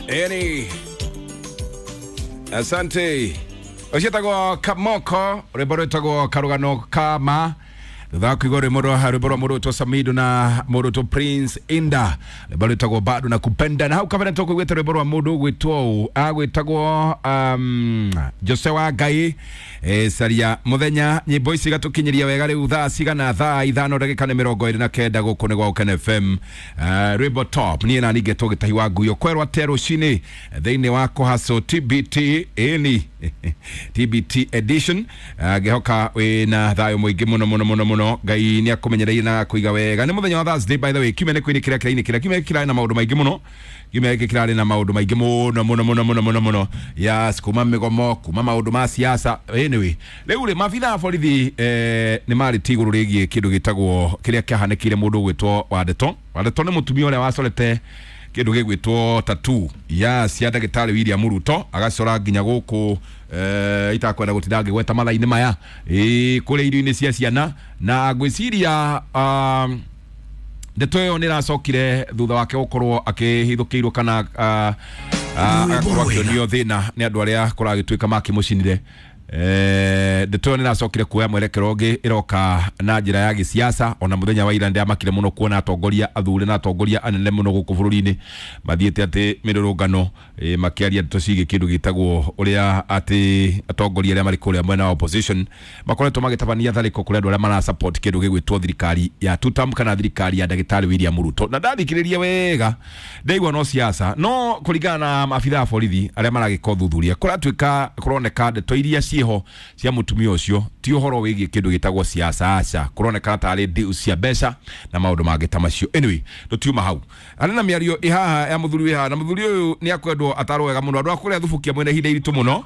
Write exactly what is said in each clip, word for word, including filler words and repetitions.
Eni, asante. Ucietagwo Kamoko, rwimbo rwitagwo Karugano Kama. Thutha wa kuigua rwimbo rwa rwimbo rwa mũndũ Samido na mũndũ Prince Inda, rwimbo rwitagwo Bado na Kupenda. Na hau kabere tũkũiguĩte rwimbo rwa mũndũ ũgwĩtwo ũũ, agwĩtagwo um, Jose wa Ngai, e, caria muthenya. Nyimbo ici igatũkinyĩria wega rĩu thaa cigana? Thaa ithano ndagĩka nĩ mĩrongo ĩrĩ na kenda gũkũ nĩ gwa Ũkene F M. Uh, rwimbo top niĩ na ningĩ tũgĩtahi wa nguyo kwerwo atĩa rũcinĩ thĩinĩ wa kũhaco T B T ĩni T B T edition. Ngĩhoka wĩna thayũ mũingĩ mũno mũno mũno mũno. Ngai nĩ akũmenyereire na akũiga wega. Nĩ mũthenya wa Thursday, by the way. Kiumia nĩ kwĩnĩ kĩrĩa kĩrainĩ kĩrĩa kiumia kĩrarĩ na maũndũ maingĩ mũno. Kiumia gĩkĩ kĩrarĩ na maũndũ maingĩ mũno mũno mũno mũno mũno mũno. Yes, kuma mĩgomo, kuma maũndũ ma siasa. Anyway, rĩu rĩ maabitha a borithi eh, nĩ marĩtie igũrũ rĩgiĩ kĩndũ gĩtagwo kĩrĩa kĩahanĩkĩire mũndũ ũgwĩtwo Wandeto. Wandeto nĩ mũtumia ũrĩa wacorete kĩndũ gĩgwĩtwo tattoo ya cia ndagĩtarĩ William Ruto, agacora nginya gũkũ eh, itakwenda gũtinda ngĩgweta mathaa-inĩ maya, ĩ kũrĩa irio-inĩ cia ciana. Na ngwĩciria um, ndeto ĩyo nĩ ĩracokire thutha wake gũkorwo akĩhithũkĩirwo kana uh, uh, agakorwo akĩonio thĩna nĩ andũ arĩa kũragĩtuĩka makĩmũcinire. Eh, ndeto ĩyo nĩ ĩracokire kuoya mwerekero ũngĩ, ĩroka na njĩra ya gĩsiasa. Ona mũthenya wa ira ndĩamakire mũno kuona atongoria athure na atongoria anene mũno gũkũ bũrũri-inĩ mathiĩte atĩ mĩrũrũngano, eh, makĩaria ndeto ciĩgiĩ kĩndũ gĩtagwo ũrĩa atĩ atongoria arĩa marĩ kũrĩa mwena wa opposition makoretwo magĩtabania tharĩko kũrĩ andũ arĩa mara support kĩndũ gĩgwĩtwo thirikari ya two term kana thirikari ya ndagĩtarĩ William Ruto. Na ndathikĩrĩria wega ndaigua no siasa, no kũringana na maabitha a borithi arĩa maragĩka ũthuthuria kũratuĩka kũroneka ndeto iria ciĩho cia mũtumia ũcio ti ũhoro wĩgiĩ kĩndũ gĩtagwo siasa, aca, kũronekana tarĩ deal cia mbeca na maũndũ mangĩ ta macio. Anyway, tũtiuma hau. Arĩ na mĩario ĩ haha ya mũthuri wĩ haha, na mũthuri ũyũ nĩ akwendwo atarwo wega mũno. Andũ a kũrĩa Thubukia mwena ihinda iritũ mũno,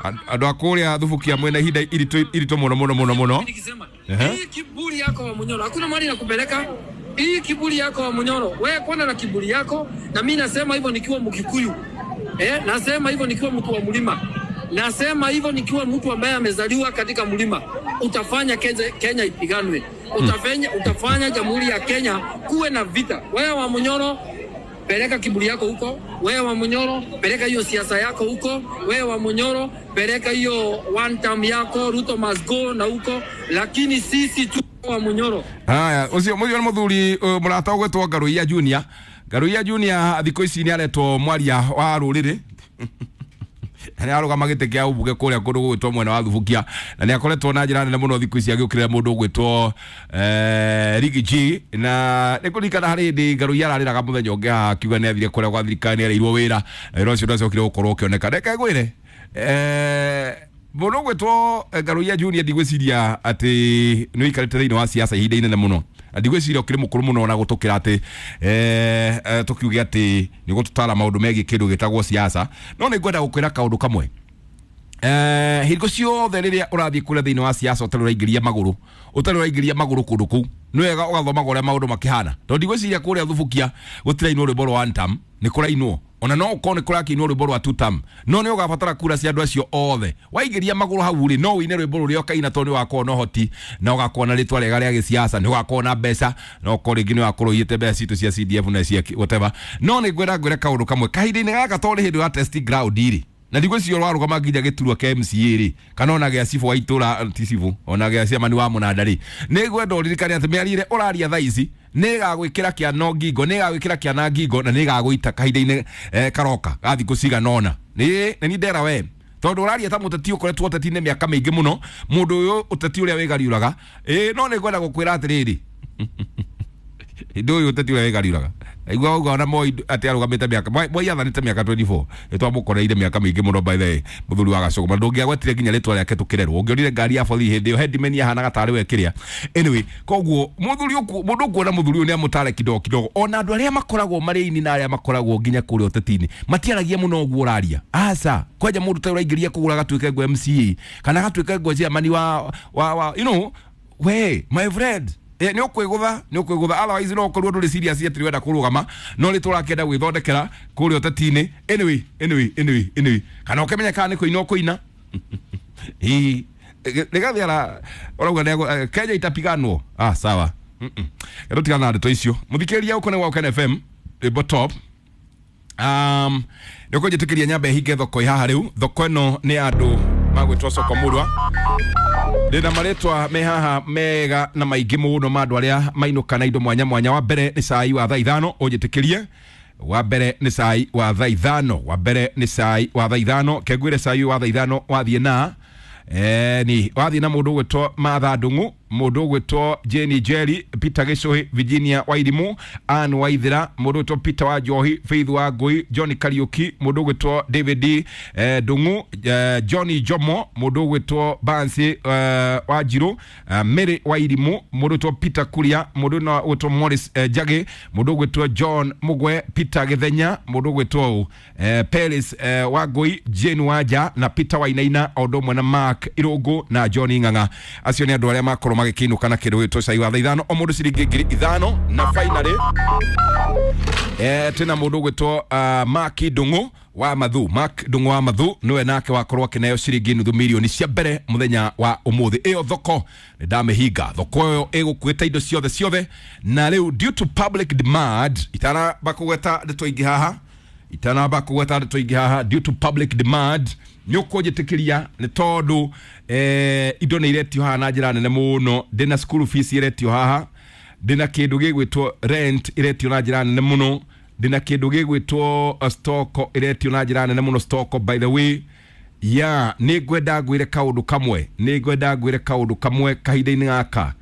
andũ a kũrĩa Thubukia mwena ihinda iritũ iritũ mũno mũno mũno mũno. Hii kiburi yako wa Munyoro, hakuna mali nakupeleka. Hii kiburi yako wa Munyoro, wewe kwana na kiburi yako, na mimi nasema hivyo nikiwa Mkikuyu. Eh, nasema hivyo nikiwa mtu wa mlima. Nasema hivyo nikiwa mtu ambaye amezaliwa katika mlima. Utafanya Kenya, Kenya ipiganwe. Utafanya, utafanya Jamhuri ya Kenya kuwe na vita. Wewe wa Munyoro, peleka kiburi yako huko. Wewe wa Munyoro, peleka hiyo siasa yako huko. Wewe wa Munyoro, peleka hiyo one term yako, Ruto must go na huko. Lakini sisi tu wa Munyoro. Haya, ucio muthio muthuri murata ugwetwo Ngaruiya Junior. Ngaruiya Junior thikũ ici nĩ aretwo mwaria wa rũrĩrĩ. Na nĩ arũgama gĩtĩ kĩa ũmbunge kũrĩa kũndũ gũgwĩtwo mwena wa Thubukia, na nĩ akoretwo na njĩra nene mũno thikũ ici agĩũkĩrĩra mũndũ ũgwĩtwo eh, Riggy G. Na nĩ kũririkana harĩ hĩndĩ Ngaruiya ararĩraga mũthenya ũngĩ haha akiuga nĩ athire kũrĩa gwa thirikari nĩ areirwo wĩra, na wĩra ũcio ndwacokire gũkorwo ũkĩoneka. Reke ngwĩre, eh, mũndũ ũgwĩtwo Ngaruiya Junior ndigwĩciria atĩ nĩ ũikarĩte thĩinĩ wa siasa ihinda inene mũno. Ndigwĩciria ũkĩrĩ mũkũrũ mũno na gũtũkĩra atĩ eh, eh, tũkiuge atĩ nĩ ũgũtũtara maũndũ megiĩ kĩndũ gĩtagwo siasa. No nĩ ngwenda gũkwĩra kaũndũ kamwe. Eh, hingo ciothe rĩrĩa ũrathiĩ kũrĩa thĩinĩ wa siasa ũtarĩ ũraingĩria magũrũ, ũtarĩ ũraingĩria magũrũ kũndũ kũu, nĩ wega ũgathomaga ũrĩa maũndũ makĩhana. Tondũ ndigwĩciria kũrĩa Thubukia gũtirainwo rwĩmbo rwa one term, nĩ kũrainwo. Ona no ũkorwo nĩ kũrakĩinwo rwĩmbo rwa two term, no nĩ ũgabatara kura cia andũ acio othe. Waingĩria magũrũ hau rĩ, no ũine rwĩmbo rũrĩa ũkaina tondũ nĩ ũgakorwo na ũhoti, na ũgakorwo na rĩtwa rĩega rĩa gĩsiasa, nĩ ũgakorwo na mbeca, na ũkorwo rĩngĩ nĩ ũgakorwo ũiyĩte mbeca citũ cia C D F na cia whatever. No nĩ ngwenda ngwĩre kaũndũ kamwe kahinda-inĩ gaka, tondũ nĩ hĩndĩ ya testing ground rĩ, na ndigwĩciria ũrarũgama nginya gĩturwa kĩa M C A rĩ, kana ona gĩa cibũ wa itũra, ti cibũ, ona gĩa ciamani wa mũnanda rĩ, nĩ ngwenda ũririkane atĩ mĩario ĩrĩa ũraria thaa ici nĩ ĩgagwĩkĩra kĩano ngingo, nĩ ĩgagwĩkĩra kĩana ngingo, na nĩ ĩgagũita kahinda-inĩ, eh, karoka ga thikũ cigana ũna. Nĩ, nĩ niĩ ndera we, tondũ ũraria ta mũteti ũkoretwo ũteti-inĩ mĩaka mĩingĩ mũno, mũndũ ũyũ ũteti ũrĩa wĩgariũraga. Ĩ, no nĩ ngwenda gũkwĩra atĩrĩrĩ, hĩndĩ ũyũ ũteti ũrĩa wĩgariũraga, aigua uga ona Moi atĩ arũgamĩte mĩaka, Moi, Moi athanĩte mĩaka twenty-four, nĩ twamũkoreire mĩaka mĩingĩ mũno by the way, mũthuri wa Gacũgũma. Ndũngĩagwetire nginya rĩtwa rĩake tũkĩrerwo, ũngĩonire ngari ya borithi hĩndĩ ĩyo headman ahanaga tarĩ we kĩrĩa. Anyway, koguo mũthuri ũku, mũndũ ũkuona mũthuri ũyũ nĩ amũtare kidogo kidogo. Ona andũ arĩa makoragwo marĩ aini na arĩa makoragwo nginya kũrĩa ũteti-inĩ matiaragia mũno ũguo ũraria. Aca, kwanja mũndũ ta ũraingĩria kũgũra agatuĩke ngo M C A kana agatuĩke ngo chairman wa, wa, wa, you know, we my friend, Eh, nĩ ũkwĩgũtha, nĩ ũkwĩgũtha. Otherwise no ũkorwo ndũrĩ serious atĩ ũrenda kũrũgama, no rĩ tũrakĩenda gwĩthondekera kũrĩa ũteti-inĩ. Anyway, anyway, anyway, anyway, kana ũkĩmenya kana nĩ kũina ũkũina. Ĩ, Rigathi ara ũrauga nĩ Kenya itapiganwo. Ah, sawa. Mm-mm. Rĩu tigana na ndeto icio. Mũthikĩrĩria ũkũ nĩ wa Ũkene F M, rwĩmbo top. um nä å njä nyambe hinge thoko haha rä u. Thoko ä no nä andå magwätwo soko murwa. Ndä na marĩtwa me haha mega na maingĩ mũno ma andũ arĩa mainũka na indo mwanya mwanya. Wa mbere nĩ cai wa thaa ithano, ũnjĩtĩkĩrie. Wa mbere nĩ cai wa thaa ithano, wa mbere nĩ cai wa thaa ithano. Kengwĩre cai wa thaa ithano wathiĩ na eh, ni wathiĩ na mũndũ ũgwĩtwo Martha Ndung'u, mũndũ ũgwĩtwo Jane Jerry, Peter Gĩcũhĩ, Virginia Wairimu, Ann Waithera, mũndũ ũgwĩtwo Peter wa Njohi, Faith wa Ngũi, John Kariuki, mũndũ ũgwĩtwo David eh, Ndung'u, eh, John Jomo, mũndũ ũgwĩtwo Bansi eh, wa Njirũ, eh, Mary Wairimu, mũndũ ũgwĩtwo Peter Kuria, mũndũ na ũgwĩtwo Morris eh, Njagĩ, mũndũ ũgwĩtwo John Mugwe, Peter Gĩthenya, mũndũ ũgwĩtwo eh, Peris eh, wa Ngũi, Jane Wanja na Peter Wainaina, o ũndũ ũmwe na Mark Irũngũ na John Ng'ang'a. Acio nĩ andũ arĩa makorwo magĩkĩinũka na kĩndũ gĩtwo cai wa thaa ithano, o mũndũ ciringi ngiri ithano. Na finally eh, twĩna mũndũ ũgwĩtwo uh, Mark Ndung'u wa Mathu. Mark Ndung'u wa Mathu niwe nake wakorwo akĩneo ciringi nuthu milioni cia mbere mũthenya wa ũmũthĩ. Ĩyo thoko nĩ ndamĩhinga, thoko ĩyo ĩgũkuĩte indo ciothe ciothe. Na rĩu due to public demand, itanamba kũgweta ndeto ingĩ haha, itanamba kũgweta ndeto ingĩ haha, due to public demand nĩ ũkũnjĩtĩkĩria nĩ tondũ eh, indo nĩ iretio haha na njĩra nene mũno. Ndĩna school fees iretio haha, ndĩna kĩndũ gĩgwĩtwo rent iretio na njĩra nene mũno, ndĩna kĩndũ gĩgwĩtwo uh, stock iretio na njĩra nene mũno. Stock, by the way, ya nĩ ngwenda ngwĩre kaũndũ kamwe, nĩ ngwenda ngwĩre kaũndũ kamwe kahinda-inĩ gaka.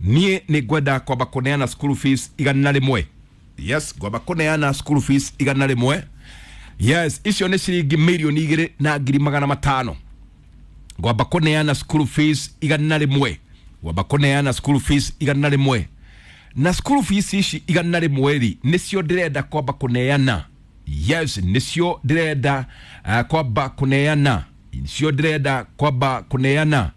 Niĩ nĩ ngwenda kwamba kũneana school fees igana rĩmwe. Yes, ngwamba kũneana school fees igana rĩmwe. Yes, icio nĩ ciringi mirioni igĩrĩ na ngiri magana matano. Ngwamba kũneana school fees igana rĩmwe, ngwamba kũneana school fees igana rĩmwe. Na school fees ici igana rĩmwe rĩ, nĩcio ndĩrenda kwamba kũneana. Yes, nĩcio ndĩrenda uh, kwamba kũneana, nĩcio ndĩrenda kwamba kũneana.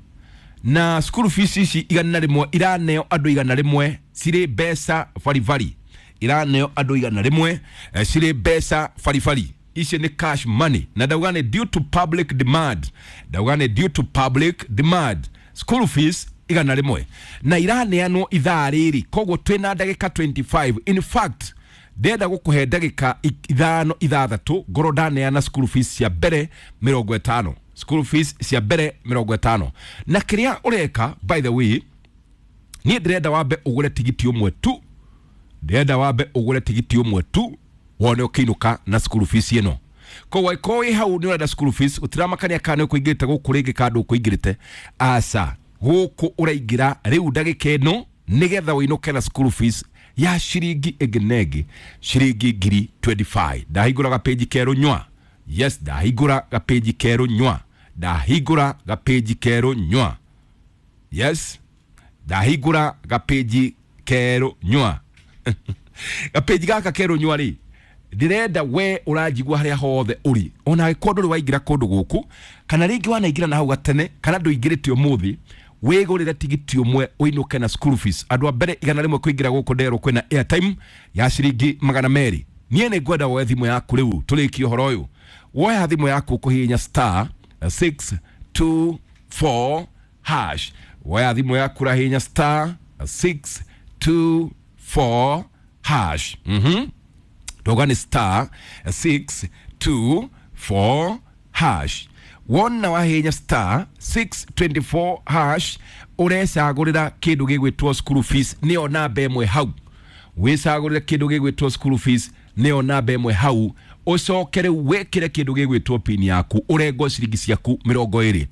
Na school fees ici igana rĩmwe iraneo andũ igana rĩmwe cirĩ mbeca baribari, iraneo andũ igana rĩmwe eh, cirĩ mbeca baribari. Ici nĩ cash money, na ndauga nĩ due to public demand, ndauga nĩ due to public demand school fees igana rĩmwe na iraneanwo ithaa rĩrĩ. Koguo twĩna ndagĩka mĩrongo ĩrĩ na ithano. In fact, ndĩrenda gũkũhe ndagĩka ithano ithathatũ ngorwo ndaneana school fees cia mbere mĩrongo ĩtano, school fees cia mbere mĩrongo ĩtano. Na kĩrĩa ũreka, by the way, niĩ ndĩrenda wambe ũgũre tigiti ũmwe tu, ndĩrenda wambe ũgũre tigiti ũmwe tu wone ũkĩinũka na school fees ĩno. Koguo angĩkorwo wĩ hau nĩ ũrenda school fees, gũtiramakania kana nĩ ũkũingĩrĩte gũkũ rĩngĩ kana ndũkũingĩrĩte, aca, gũkũ ũraingĩra rĩu ndagĩka ĩno nĩgetha ũinũke na school fees ya ciringi ĩngĩ na ĩngĩ ciringi ngiri mĩrongo ĩrĩ na ithano. Ndahingũra gapĩnji kerũ nywa. Yes, ndahingũra gapĩnji kerũ nywa, ndahingũra gapĩnji kerũ nywa. Yes, ndahingũra gapĩnji kerũ nywa. Gapĩnji gaka kerũ nywa rĩ, ndĩrenda we ũranjigua harĩa hothe ũrĩ, ona angĩkorwo ndũrĩ waingĩra kũndũ gũkũ, kana rĩngĩ wanaingĩra na hau gatene, kana ndũingĩrĩte ũmũthĩ, wĩgũrĩre tigiti ũmwe ũinũke na school fees. Andũ a mbere igana rĩmwe kũingĩra gũkũ nderwo kwĩna airtime ya ciringi magana merĩ. Niĩ nĩ ngwenda woe thimũ yaku rĩu tũrĩkie ũhoro ũyũ. Woya thimũ yaku kũhihinya star six two four hash. Woya thimũ yaku rahihinya star six two four hash. mhm Toga nĩ star six two four hash. Wona wahihinya star six two four hash, ũrecagũrĩra kĩndũ gĩgwĩtwo school fees, nĩyo namba ĩmwe hau. Wĩcagũrĩre kĩndũ gĩgwĩtwo school fees, nĩyo namba ĩmwe hau. Ũcoke rĩu wĩkĩre kĩndũ gĩgwĩtwo pin yaku, ũrengwo ciringi ciaku mĩrongo ĩrĩ.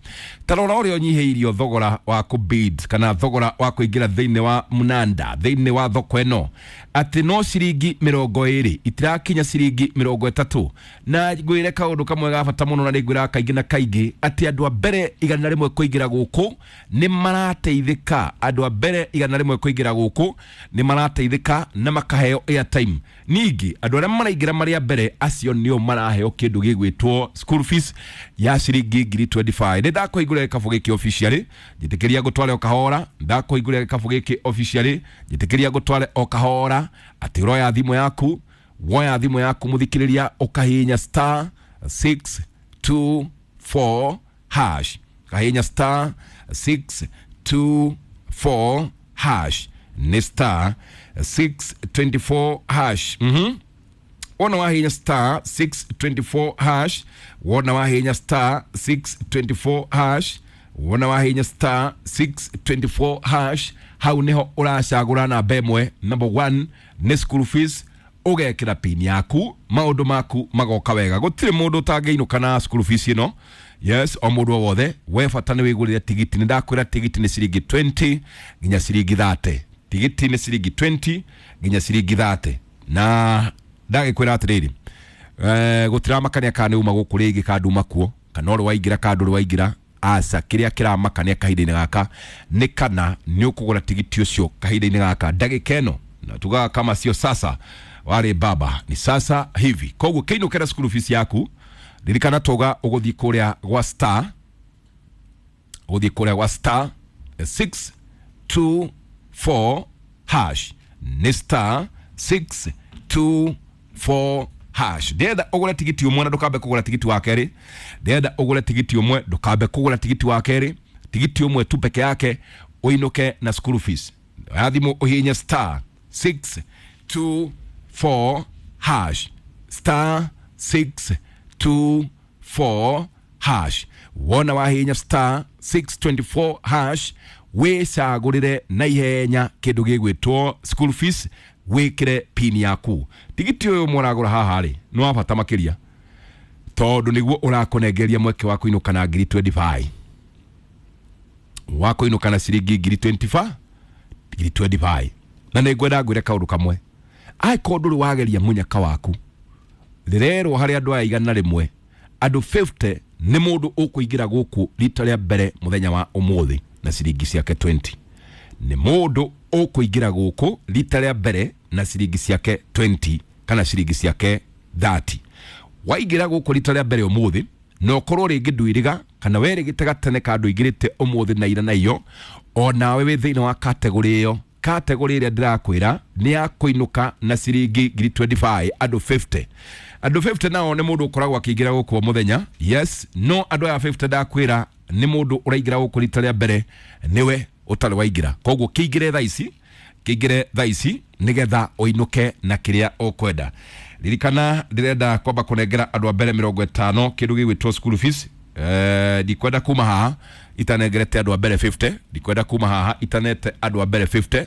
Ta rora ũrĩa ũnyihĩirio thogora wa kũbid kana thogora wa kũingĩra thĩinĩ wa mnanda, thĩinĩ wa thoko ĩno, atĩ no ciringi mĩrongo ĩrĩ, itirakinya ciringi mĩrongo ĩtatũ. Na ngwĩre kaũndũ kamwe ga bata mũno, na nĩngwĩraga kaingĩ na kaingĩ atĩ andũ a mbere igana rĩmwe kũingĩra gũkũ nĩ marateithĩka. Andũ a mbere igana rĩmwe kũingĩra gũkũ nĩ marateithĩka na makaheo airtime. Ningĩ andũ arĩa maraingĩra marĩ a mbere acio nĩo maraheo kĩndũ gĩgwĩtwo school fees ya ciringi ngiri mĩrongo ĩrĩ na ithano. Nĩ ndakũhingũrĩra gĩkabũ gĩkĩ officially, njĩtĩkĩria ngũtware o kahora. Ndakũhingũrĩra gĩkabũ gĩkĩ officially, njĩtĩkĩria ngũtware o kahora, atĩ ũroya thimũ yaku, woya thimũ yaku mũthikĩrĩria, ũkahihinya star six two four hash, kahihinya star six two four hash, nĩ star six two four hash. mhm Wona wahinya star six twenty-four hash, wona wahinya star six twenty-four hash, wona wahinya star six twenty-four hash, hau niho uracagura namba ĩmwe. Number one nĩ school fees, ũgekĩra pin yaku, maũndũ maku magoka wega. Gũtirĩ mũndũ ũtangĩinũka na school fees ĩno. Yes, o mũndũ o wothe, we bata nĩ wĩgũrĩre tigiti. Nĩ ndakwĩra tigiti nĩ ciringi twenty nginya ciringi thirty. Tigiti nĩ ciringi twenty nginya ciringi thirty. Na ndagĩkwĩra atĩrĩrĩ, eh, gũtiramakania kana nĩ uma gũkũ rĩngĩ kana nduma kuo, kana ũrĩ waingĩra kana ndũrĩ waingĩra. Aca, kĩrĩa kĩramakania kahinda-inĩ gaka nĩ kana nĩ ũkũgũra tigiti ũcio kahinda-inĩ gaka ndagĩka ĩno, na tugaga kama sio sasa wale baba ni sasa hivi. Koguo kĩinũkĩra school fees yaku, ririkana toga ũgũthiĩ kũrĩa gwa star, ũgũthiĩ kũrĩa gwa star six two four hash, nĩ star six two four hash. Ndĩrenda ũgũre tigiti ũmwe na ndũkambe kũgũra tigiti wa kerĩ. Ndĩrenda ũgũre tigiti ũmwe ndũkambe kũgũra tigiti wa kerĩ. Tigiti ũmwe tu peke yake ũinũke na school fees. Oya thimũ ũhihinye star six two four hash, star six two four hash. Wona wahihinya star six twenty-four hash, wĩcagũrĩre na ihenya kĩndũ gĩgwĩtwo school fees, wĩkĩre pin yaku. Tigiti ũyũ mũragũra haha rĩ nĩ wa bata makĩria, tondũ nĩguo ũrakũnengeria mweke wa kũinũka na ngiri twenty-five, wa kũinũka na ciringi ngiri twenty-five, ngiri twenty-five. Na nĩ ngwenda ngwĩre kaũndũ kamwe, angĩkorwo ndũrĩ wageria mũnyaka waku, rĩrerwo harĩ andũ aya igana rĩmwe, andũ fifty nĩ mũndũ ũkũingĩra gũkũ rita rĩa mbere mũthenya wa ũmũthĩ na ciringi ciake twenty. Nĩ mũndũ ũkũingĩra gũkũ rita rĩa mbere na ciringi ciake twenty kana ciringi ciake thirty. Waingĩra gũkũ rita rĩa mbere ũmũthĩ, na ũkorwo rĩngĩ ndwĩrĩga kana werĩgĩte gatene ka ndũingĩrĩte ũmũthĩ na ira na iyo, o nawe wĩ thĩinĩ wa category ĩyo. Category ĩrĩa ndĩrakwĩra nĩ ya kũinũka na ciringi ngiri twenty-five, andũ fifty. Andũ fifty nao nĩ mũndũ ũkoragwo akĩingĩra gũkũ o mũthenya. Yes, no andũ aya fifty ndakwĩra nĩ mũndũ ũraingĩra gũkũ rita rĩa mbere nĩwe ũtarĩ waingĩra. Koguo kĩingĩre thaa ici, kĩingĩre thaa ici nĩgetha ũinũke na kĩrĩa ũkwenda. Ririkana ndĩrenda kwamba kũnengera andũ a mbere mĩrongo ĩtano kĩndũ gĩgwĩtwo school fees. Eh, ndikwenda kuma haha itanengerete andũ a mbere fifty, ndikwenda kuma haha itanete andũ a mbere fifty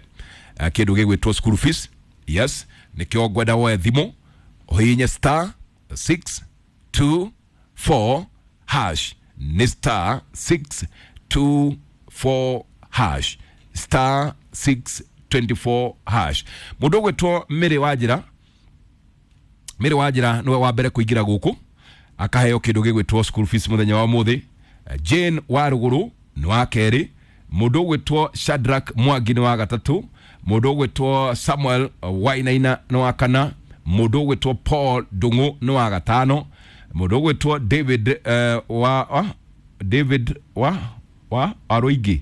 kĩndũ gĩgwĩtwo school fees. Yes, nĩkĩo ngwenda woe thimũ ũhihinye star six two four hash, nĩ star six two four hash, star six twenty-four hash. Mũndũ ũgwĩtwo Mary Wanjĩra, Mary Wanjĩra nĩwe wa mbere kũingĩra gũkũ akaheo kĩndũ gĩgwĩtwo school fees mũthenya wa ũmũthĩ. Jane Waruguru nĩ wa kerĩ, mũndũ ũgwĩtwo Shadrack Mwangi nĩ wa gatatũ, mũndũ ũgwĩtwo Samuel Wainaina nĩ wa kana, mũndũ ũgwĩtwo Paul Ndung'u nĩ wa gatano, mũndũ ũgwĩtwo David uh, wa, wa David wa wa Aroigi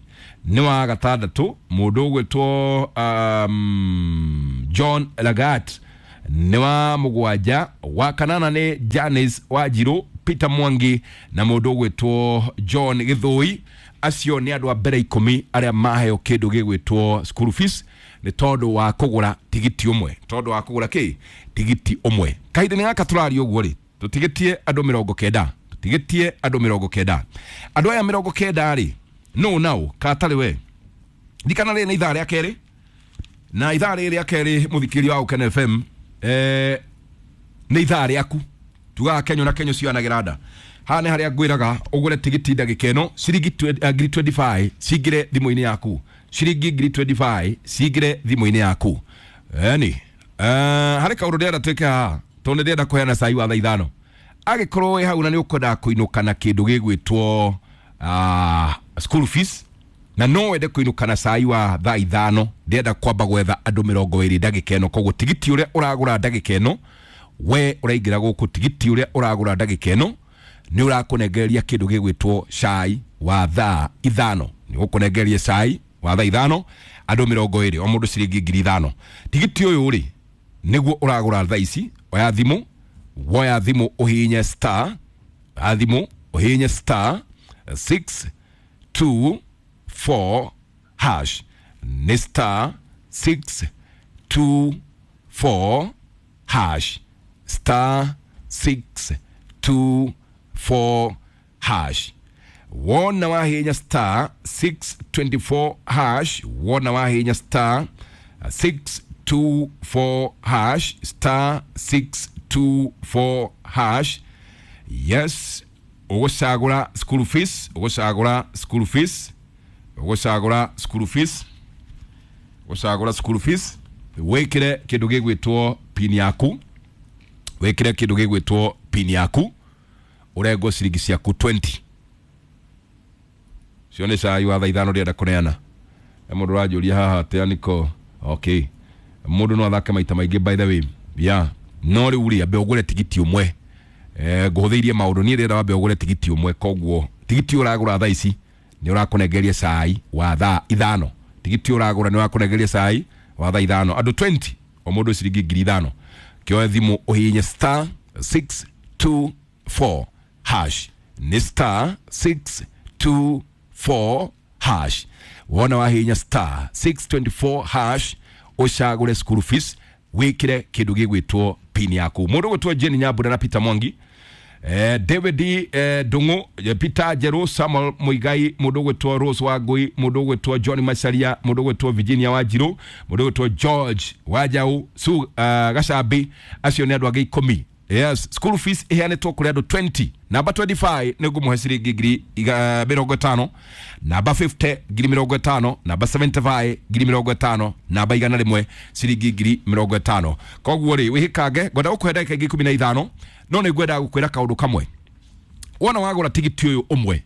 nĩ wa gatandatũ, mũndũ ũgwĩtwo um, John Lagat nĩ wa mũgwanja, wa kanana nĩ Janice Wanjiru, Peter Mwangi na mũndũ ũgwĩtwo John Gĩthũi. Acio nĩ andũ a mbere ikũmi arĩa maheo kĩndũ gĩgwĩtwo school fees nĩ tondũ wa kũgũra tigiti ũmwe, tondũ wa kũgũra kĩ tigiti ũmwe. Kahinda-inĩ gaka tũraria ũguo rĩ, tũtigĩtie andũ mĩrongo kenda, tũtigĩtie andũ mĩrongo kenda. Andũ aya mĩrongo kenda rĩ, no nao katarĩ we. Ririkana rĩrĩ nĩ ithaa rĩa kerĩ, na ithaa rĩrĩ rĩa kerĩ mũthikĩria wa Ũkene F M, eh, nĩ ithaa rĩaku. Tugaga Kenyo na Kenyo cionagĩra nda. Haha nĩ harĩa ngwĩraga ũgũre tigiti ndagĩka ĩno ciringi ngiri twenty-five cingĩre thimũ-inĩ yaku, ciringi ngiri twenty-five cingĩre thimũ-inĩ yaku. Eni harĩ kaũndũ ndĩrenda twĩke haha, tondũ nĩ ndĩrenda kũheana cai wa thaa ithano. Angĩkorwo wĩ hau na nĩ ũkwendaga kũinũka na kĩndũ gĩgwĩtwo school fees, na no wende kũinũka na cai wa thaa ithano, ndĩrenda kwamba gwetha andũ mĩrongo ĩrĩ ndagĩka ĩno. Koguo tigiti ũrĩa ũragũra ndagĩka ĩno, we ũraingĩra gũkũ, tigiti ũrĩa ũragũra ndagĩka ĩno nĩ ũrakũnengereria kĩndũ gĩgwĩtwo cai wa thaa ithano. Nĩ ũkũnengereria cai wa thaa ithano andũ mĩrongo ĩrĩ, o mũndũ ciringi ngiri ithano. Tigiti ũyũ rĩ nĩguo ũragũra thaa ici. Oya thimũ, woya thimũ ũhihinye star, oya thimũ ũhihinye star six two four hash, nĩ star six two four hash, star six two four hash. Wona wahinya star six twenty-four hash. Wona wahinya star six two four hash, star six two four hash. Yes, ugucagura school fees, ugucagura school fees, ugucagura school fees, ugucagura school fees, wikire kindu gigwitwo pin yaku, wikire kindu gigwitwo pin yaku, urengwo ciringi ciaku twenty. Cione cai wa thaa ithano ndĩrenda kũneana. E mũndũ ũranjũria haha atĩ aniko okay, mũndũ no athake maita maingĩ by the way. Yeah, no rĩu rĩ ambe ũgũre tigiti ũmwe. Eh, ngũhũthĩirie maũndũ niĩ ndĩrenda wambe ũgũre tigiti ũmwe, koguo tigiti ũragũra thaa ici nĩ ũrakũnengeria cai wa thaa ithano. Tigiti ũragũra nĩ ũrakũnengeria cai wa thaa ithano, andũ twenty o mũndũ ciringi ngiri ithano. Kĩoe thimũ ũhihinye star six two four hash, nĩ star six two four hash. Wona wahihinya star six twenty-four hash ũcagũre school fees, wikire kindu gigwitwo pin yaku. Mundu gwitwo Jane Nyambura na Peter Mwangi, eh, David eh, Dungu, Peter Jeru, Samuel Muigai, mundu gwitwo Rose Wangui, mundu gwitwo John Macharia, mundu gwitwo Virginia Wanjiru, mundu gwitwo George Wajau Su uh, Gacabi, acio ni andu angi ikumi. Yes, school fees iheanĩtwo kũrĩ andũ twenty. Namba twenty-five nĩ ngũmũhe ciringi ngiri mĩrongo ĩtano, namba fifty ngiri mĩrongo ĩtano, namba seventy-five ngiri mĩrongo ĩtano, namba igana rĩmwe ciringi ngiri mĩrongo ĩtano. Koguo rĩ wĩhĩkange, ngwenda gũkũhe ndagĩka ingĩ ikũmi na ithano, no nĩ ngwenda gũkwĩra kaũndũ kamwe. Wona wagũra tigiti ũyũ ũmwe,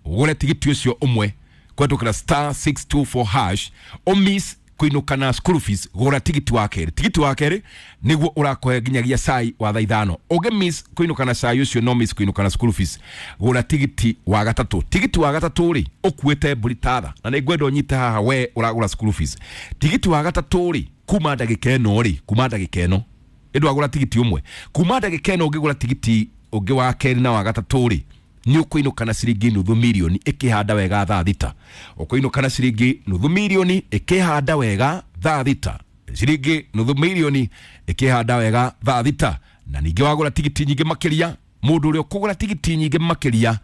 ũgũre tigiti ũcio ũmwe kũhetũkĩra star six two four hash, ũmiss kuinuka na school fees, gura tigiti wa keri. Tigiti wa keri niguo urakohe nginyagia cai wa thaa ithano. Ungi miss kuinuka na cai ucio no miss kuinuka na school fees, gura tigiti wa gatatu. Tigiti wa gatatu ri ukuite mburi tatha, na nĩ ngwenda ũnyite haha we uragura school fees. Tigiti wa gatatu ri kuma ndagĩka ĩno ri, kuma ndagĩka ĩno ĩndũ wagura tigiti ũmwe, kuma ndagĩka ĩno ũngĩgũra tigiti ũngĩ wa keri na wa gatatu ri nĩ ũkũinũka na ciringi nuthu milioni ĩkĩhanda wega thaa thita. Ũkũinũka na ciringi nuthu milioni ĩkĩhanda wega thaa thita, ciringi nuthu milioni ĩkĩhanda wega thaa thita. Na ningĩ wagũra tigiti nyingĩ makĩria, mũndũ ũrĩa ũkũgũra tigiti nyingĩ makĩria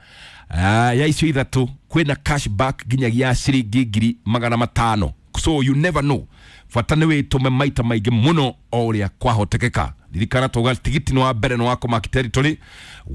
ya icio ithatũ, kwĩna cashback nginyagia ciringi ngiri magana matano. So you never know, bata nĩ wĩtũme maita maingĩ mũno o ũrĩa kwahotekeka. Ririkana tuga tigiti nĩ wa mbere nĩ wa kũmaki territory,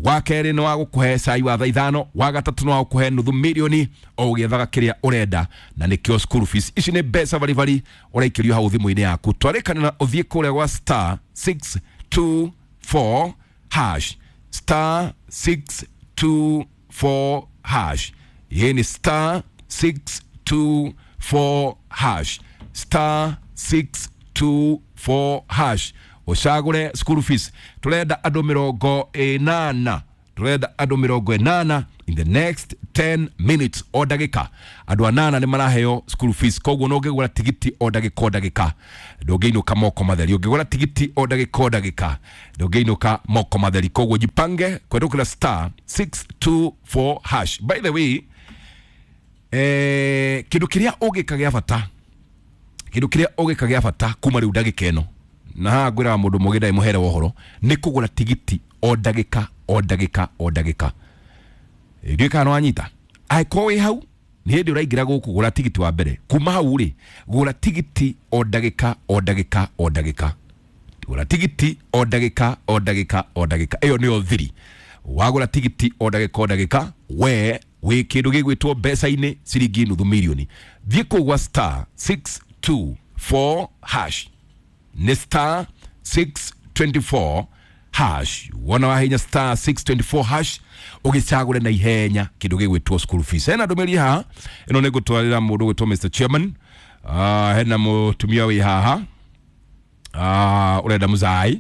wa kerĩ nĩ wa gũkũhe cai wa thaa ithano, wa gatatũ nĩ wa gũkũhe nuthu milioni o ũgĩethaga kĩrĩa ũrenda, na nĩkĩo school fees. Ici nĩ mbeca baribari ũraikĩrio hau thimũ-inĩ yaku. Twarĩkana na ũthiĩ kũrĩa gwa star six two four hash, star six two four hash. Hii ni star six two four hash, star six two four hash. Ũcagũre school fees. Turenda andũ mĩrongo ĩnana, turenda andũ mĩrongo ĩnana in the next ten minutes o ndagĩka. Andũ anana nĩ maraheo school fees, koguo no ũngĩgũra tigiti o ndagĩka o ndagĩka ndũngĩinũka moko matheri. Ũngĩgũra tigiti o ndagĩka o ndagĩka ndũngĩinũka moko matheri. Koguo jipange kũhetũkĩra star six two four hash. By the way, eh, kĩndũ kĩrĩa ũngĩka gĩa bata, kĩndũ kĩrĩa ũngĩka gĩa bata kuma rĩu ndagĩka ĩno, na haha ngwĩraga mũndũ mũgĩ ndarĩ mũhere wa ũhoro, nĩ kũgũra tigiti o ndagĩka o ndagĩka o ndagĩka. Ndiũĩ kana nĩwanyita. Angĩkorwo wĩ hau nĩ hĩndĩ ũraingĩra gũkũ, gũra tigiti wa mbere. Kuma hau rĩ, gũra tigiti o ndagĩka o ndagĩka o ndagĩka, gũra tigiti o ndagĩka o ndagĩka o ndagĩka. Ĩyo nĩyo thiri. Wagũra tigiti o ndagĩka o ndagĩka, we wĩ kĩndũ gĩgwĩtwo mbeca-inĩ ciringi nuthu milioni. Thiĩ kũu gwa star six two four hash, nĩ star six twenty-four hash. Wona wahinya star six twenty-four hash ũgĩcagũre na ihenya kĩndũ gĩgwĩtwo school fees. Hena ndũmĩrĩri haha ĩno nĩ ngũtwarĩra mũndũ ũgwĩtwo Mister Chairman. Uh, hena mũtumia wĩ haha uh, ũrenda mũcai.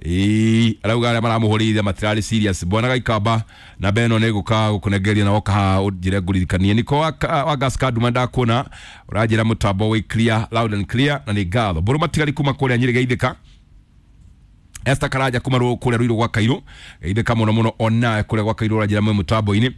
Ĩĩ, arauga arĩa maramũhũrĩire matirarĩ serious. Bwana Gaikamba na beno nĩ ngũka gũkũnengeria na woka haha ũnjĩre ngũririkanie. Niko wa, wa gas card ndakuona ũranjĩra mũtambo wĩ clear, loud and clear, na nĩ ngatho. Mbũrũ matigari kuma kũrĩa Nyĩrĩ Geithĩka. Esther Karaja kuma ru kuria ruiru gwa Kairu geithĩka mũno mũno onawe kuria gwa Kairu ũranjĩra mwĩ mũtambo-inĩ.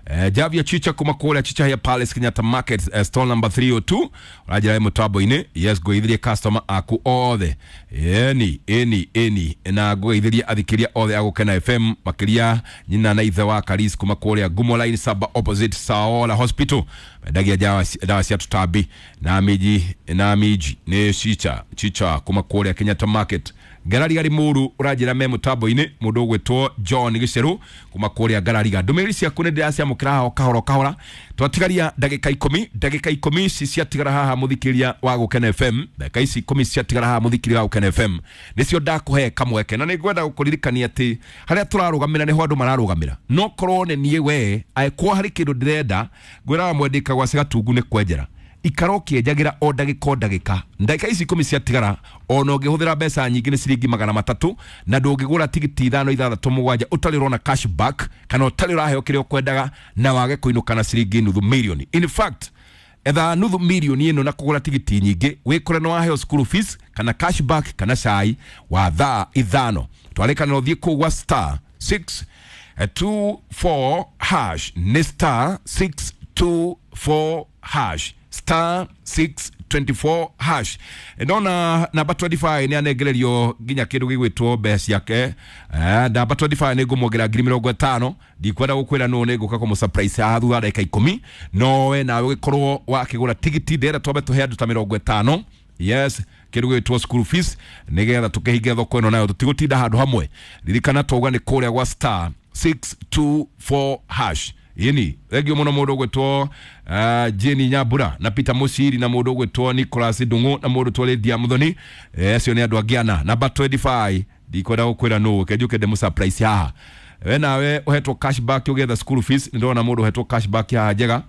Eh, Javia Chicha kuma kuria Chicha ya Palace Kenyatta Market, eh, stall number three oh two ũranjĩra mwĩ mũtambo-inĩ. Yes, ngũgeithĩrie customer aku othe, eni eni eni, na ngũgeithĩrie athikĩria othe a Gũkena F M, makĩria nyina na ithe wa Karis kuma kuria Gumo Line Saba opposite Saola Hospital, mendagia dawa cia tũtambi na miji na miji nĩ Chicha Chicha kuma kuria Kenyatta Market. Ngarariga Rimuru ũranjĩra me mũtambo-inĩ mũndũ ũgwĩtwo John Gĩcerũ kuma kũrĩa Ngarariga. Ndũmĩrĩri ciaku nĩ ndĩraciamũkĩra haha o kahora o kahora, twatigaria ndagĩka ikũmi, ndagĩka ikũmi ici ciatigara haha mũthikĩria wa Gũkena F M, ndagĩka ici ikũmi ciatigara haha mũthikĩria wa Gũkena F M nĩcio ndakũhe kamweke, na nĩngwenda gũkũririkania atĩ harĩa tũrarũgamĩra nĩho andũ mararũgamĩra. No korwo nĩ niĩ we angĩkorwo harĩ kĩndũ ndĩrenda ngwĩraga mwendĩka gwa Gatungu nĩ kwenjera, ikara ũkĩenjagĩra o ndagĩka o ndagĩka. Ndagĩka ici ikũmi ciatigara ona ũngĩhũthĩra mbeca nyingĩ nĩ ciringi magana matatũ, na ndũngĩgũra tigiti ithano ithathatũ mũgwanja ũtarĩ ũrona cashback kana ũtarĩ ũraheo kĩrĩa ũkwendaga na wage kũinũka na ciringi nuthu mirioni. In fact, etha nuthu mirioni ĩno na kũgũra tigiti nyingĩ wĩkore nĩ waheo school fees kana cashback kana cai wa thaa ithano. Twarĩkanĩra ũthiĩ kũu gwa star six two four hash, nĩ star six two four hash, star six twenty-four hash. Ndona namba twenty-five nĩ anengererio nginya kĩndũ gĩgwĩtwo mbeca ciake. Eh, namba twenty-five nĩ ngũmwongerera ngiri mĩrongo ĩtano, ndikwenda gũkwĩra nũ nĩ ngũka kũmũ surprise haha thutha wa ndagĩka ikũmi, no we nawe ũgĩkorwo wakĩgũra tigiti ndĩrenda twambe tũhe andũ ta mĩrongo ĩtano. Yes, kĩndũ gĩgwĩtwo school fees nĩgetha tũkĩhinge thoko ĩno nayo tũtigũtinda handũ hamwe. Ririkana twauga nĩ kũrĩa gwa star six two four hash. Yeni thengio muno mundu ugwitwo uh, Jenny Nyambura na Peter Mushiri na mundu ugwitwo Nicholas Ndungu na mundu twå Lydia Muthoni, acio nĩ andũ angĩ ana. Namba twenty-five ndikwenda gukwira nũ kenjuke ndĩmũ surprise haha. We nawe ũhetwo cashback ũgĩetha school fees, nĩ ndona mũndũ ũhetwo cashback haha njega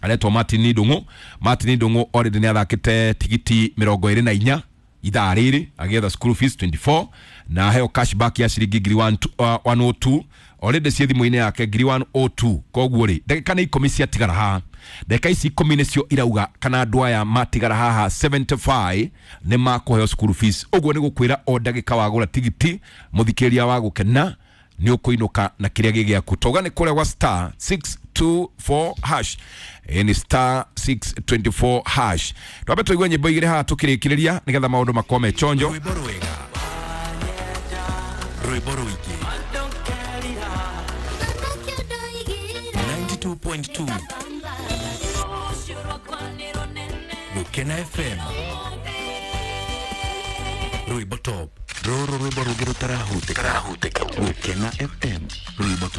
aretwo Martin Ndungu. Martin Ndungu already nĩ athakĩte tigiti mĩrongo ĩrĩ na inya ithaa rĩrĩ agĩetha school fees twenty-four na aheo cashback ya ciringi ngiri one oh two already ciĩ thimũ-inĩ yake ngiri one oh two. Koguo rĩ ndagĩka nĩ ikũmi ciatigara haha, ndagĩka ici ikũmi nĩcio irauga kana andũ aya matigara haha seventy-five nĩ makũheo school fees. Ũguo nĩ gũkwĩra o ndagĩka wagũra tigiti mũthikĩria wa Gũkena nĩ ũkũinũka na kĩrĩa gĩ gĩaku. Tauga nĩ kũrĩa gwa star six two four hash, ni star six twenty-four hash. Twambe tũigue nyĩmbo igĩrĩ haha tũkĩrĩkĩrĩria nĩgetha maũndũ makorwo me chonjo. Rwĩmbo rwega, rwĩmbo rũingĩ, ninety-two point two Gũkena F M, rwĩmbo top, rũrũ rwĩmbo rũngĩ rũtarahutĩka. Gũkena F M, rwĩmbo top.